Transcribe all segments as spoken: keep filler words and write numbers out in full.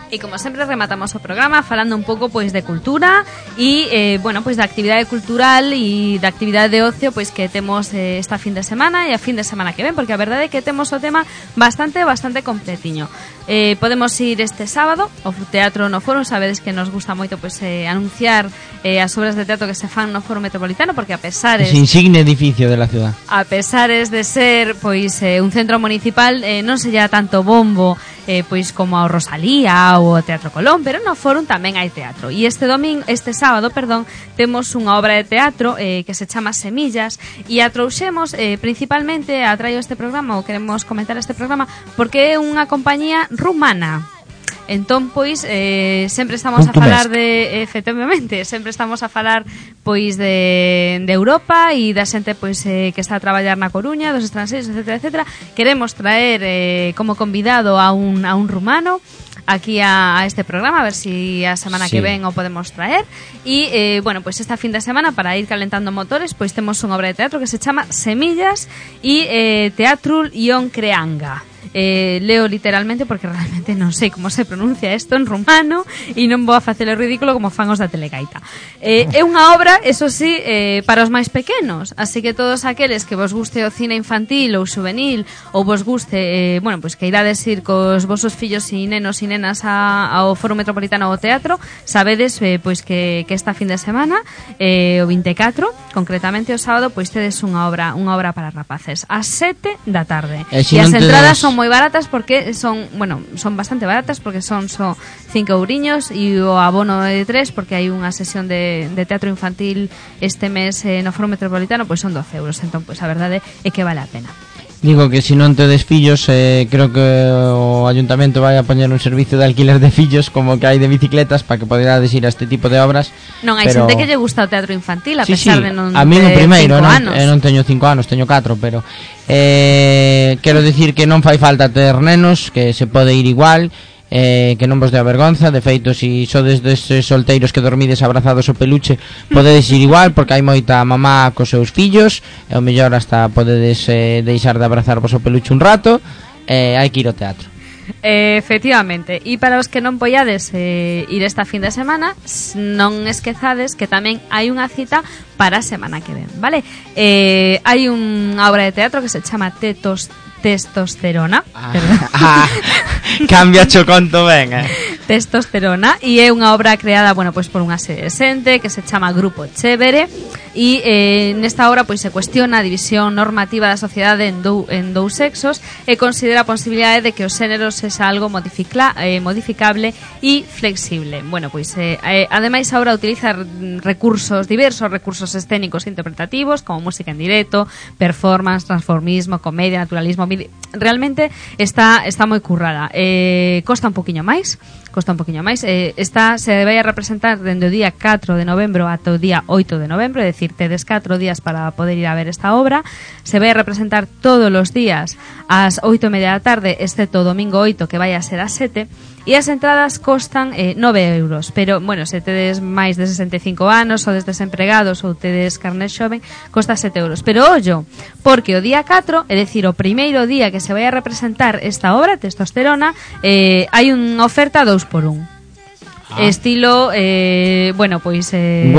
E como sempre rematamos o programa falando un pouco pois de cultura e eh, bueno, pois da actividade cultural e da actividade de ocio pois que temos eh, esta fin de semana e a fin de semana que ven, porque a verdade é que temos o tema bastante bastante completiño. Eh, podemos ir este sábado ao Teatro no Foro, sabedes que nos gusta moito pois eh, anunciar eh, as obras de teatro que se fan no Foro Metropolitano, porque a pesares ese insigne edificio de la ciudad, a pesares de ser pois eh, un centro municipal, eh, non se lla tanto bombo eh, pois como ao Rosalía ou ao Teatro Colón, pero no Fórum tamén hai teatro. E este domingo, este sábado, perdón, temos unha obra de teatro eh, que se chama Semillas e a trouxemos eh, principalmente a traio este programa, ou queremos comentar este programa porque é unha compañía rumana. Entón, pois, eh, sempre estamos a falar de, efectivamente, sempre estamos a falar, pois, de, de Europa e da xente, pois, eh, que está a traballar na Coruña, dos estranxeiros, etcétera, etcétera. Queremos traer eh, como convidado a un, a un rumano aquí a, a este programa, a ver si a semana sí. que ven o podemos traer. E, eh, bueno, pois esta fin de semana, para ir calentando motores, pois temos unha obra de teatro que se chama Semillas e eh, Teatrul Ion Creanga. Eh, leo literalmente porque realmente non sei como se pronuncia isto en rumano e non vou a facer o ridículo como fan os da Telegaita. Eh, é unha obra, eso sí, eh, para os máis pequenos, así que todos aqueles que vos guste o cine infantil ou juvenil ou vos guste, eh, bueno, pois que irades ir cos vosos fillos e nenos e nenas a, ao Foro Metropolitano ao teatro, sabedes eh, pois que, que esta fin de semana eh, o vinte e catro, concretamente o sábado, pois tedes unha obra, unha obra para rapaces ás sete da tarde. E, si e as entradas tedes... son moi baratas porque son, bueno, son bastante baratas porque son só cinco euriños e o abono de tres porque hai unha sesión de, de teatro infantil este mes eh, no Foro Metropolitano, pois son doce euros, entón pois a verdade é que vale a pena. Digo que se non tedes fillos, eh, creo que o ayuntamento vai a poñer un servicio de alquiler de fillos como que hai de bicicletas para que poderades ir a este tipo de obras. Non, hai pero... xente que lle gusta o teatro infantil a sí, pesar sí. de non a mí no primeiro, non, anos. Eh, non teño cinco anos, teño catro, pero eh, quero dicir que non fai falta ter nenos, que se pode ir igual. Eh, que non vos dea vergonza. De feito, si sodes destes solteiros que dormides abrazados ao peluche, podedes ir igual, porque hai moita mamá cos seus fillos e o mellor hasta podedes eh, deixar de abrazarvos ao peluche un rato. eh, Hai que ir ao teatro. Eh, efectivamente. E para os que non poiades eh, ir esta fin de semana, non esquezades que tamén hai unha cita para a semana que ven, vale? Eh, hai unha obra de teatro que se chama Tetos Testosterona. ah, ah, Cambia cho conto ben, eh? Testosterona, e é unha obra creada, bueno, pois por unha serie de xente que se chama Grupo Chévere e eh, nesta obra pois se cuestiona a división normativa da sociedade en, dou, en dous sexos e considera a posibilidade de que os xéneros sexa algo modificla, eh, modificable e flexible. Bueno, pois eh, eh, ademais a obra utiliza recursos, diversos recursos escénicos e interpretativos como música en directo, performance, transformismo, comedia, naturalismo. Realmente está está moi currada. Eh, costa un poquinho máis, costa un poquinho máis. Eh, está se vai a representar dende o día catro de novembro ata o día oito de novembro, é dicir, tedes catro días para poder ir a ver esta obra. Se vai a representar todos os días ás oito e media da tarde, excepto o domingo oito, que vai a ser ás sete. E as entradas costan eh, nove euros. Pero, bueno, se tedes máis de sesenta e cinco anos ou des desempregados ou tedes carné xoven, costa sete euros. Pero, ollo, porque o día catro, é dicir, o primeiro día que se vai a representar esta obra, Testosterona, eh, hai unha oferta dous por un. Ah. Estilo, eh, bueno, pois eh,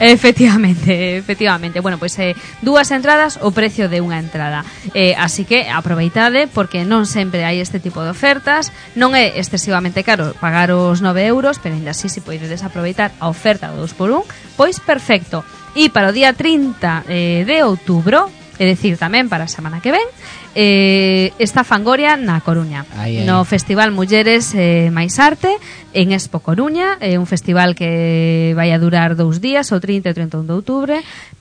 efectivamente, efectivamente. Bueno, pois eh, dúas entradas o precio de unha entrada. Eh, así que aproveitade porque non sempre hai este tipo de ofertas. Non é excesivamente caro pagar os nove euros, pero ainda así se podedes aproveitar a oferta do dos por un, pois perfecto. E para o día trinta eh, de outubro, é dicir, tamén para a semana que ven, eh, está Fangoria na Coruña, ai, ai. no Festival Mulleres eh, máis Arte en Expo Coruña, é eh, un festival que vai a durar dous días, o trinta e trinta e un de outubro,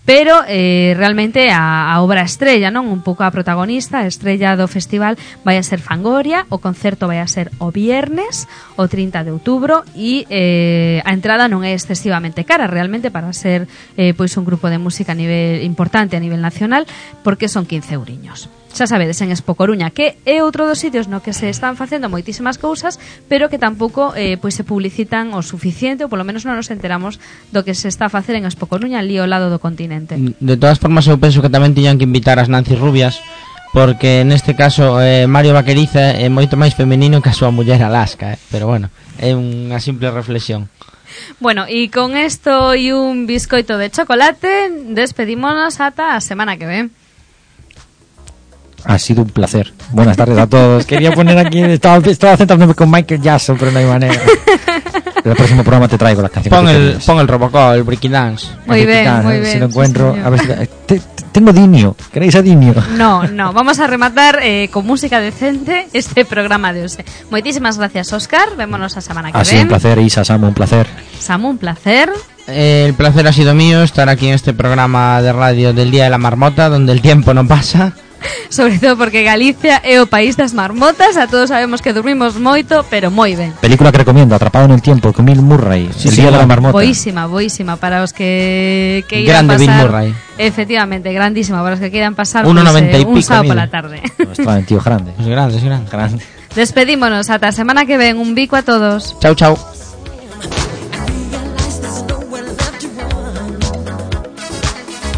pero eh, realmente a, a obra estrella, non, un pouco a protagonista, a estrella do festival vai a ser Fangoria. O concerto vai a ser o viernes, o trinta de outubro, e eh, a entrada non é excesivamente cara realmente para ser eh, pois un grupo de música a nivel importante a nivel nacional, porque son quince euriños. Xa sabedes, en Expo Coruña, que é outro dos sitios no que se están facendo moitísimas cousas, pero que tampouco eh, pois se publicitan o suficiente, ou polo menos non nos enteramos do que se está a facer en Expo Coruña ali ao lado do continente. De todas formas, eu penso que tamén tiñan que invitar as Nancy Rubias porque neste caso eh, Mario Vaqueriza é moito máis femenino que a súa muller Alaska, eh? Pero bueno, é unha simple reflexión. Bueno, y con esto y un bizcoito de chocolate despedímonos hasta la semana que viene. Ha sido un placer. Buenas tardes a todos. Quería poner aquí, estaba, estaba centrándome con Michael Jackson, pero no hay manera. En el próximo programa te traigo las canciones. Pon el, pon el Robocop, el Breaking Dance. Muy bien, Dance, muy bien. Si lo encuentro, sí, a ver si, te, te, tengo Dinio. ¿Queréis a Dinio? No, no. Vamos a rematar eh, con música decente este programa de hoy. Muchísimas gracias, Óscar. Vémonos la semana que viene. Ha sido un placer, Isa, Samu, un placer. Samu, un placer. Eh, el placer ha sido mío estar aquí en este programa de radio del Día de la Marmota, donde el tiempo no pasa. Sobre todo porque Galicia é o país das marmotas. A todos sabemos que dormimos moito, pero moi ben. Película que recomiendo, Atrapado en el tiempo, con Bill Murray, sí, El sí, Día de la Marmota. Boísima, boísima para os que queiran grande pasar. Bill Murray. Efectivamente, grandísima para os que queiran pasar uno noventa pues, eh, y un pico, sábado mira. pola tarde. No, está en tío grande. Es grande, es grande. grande. Despedímonos ata a semana que ven. Un bico a todos. Chao, chao.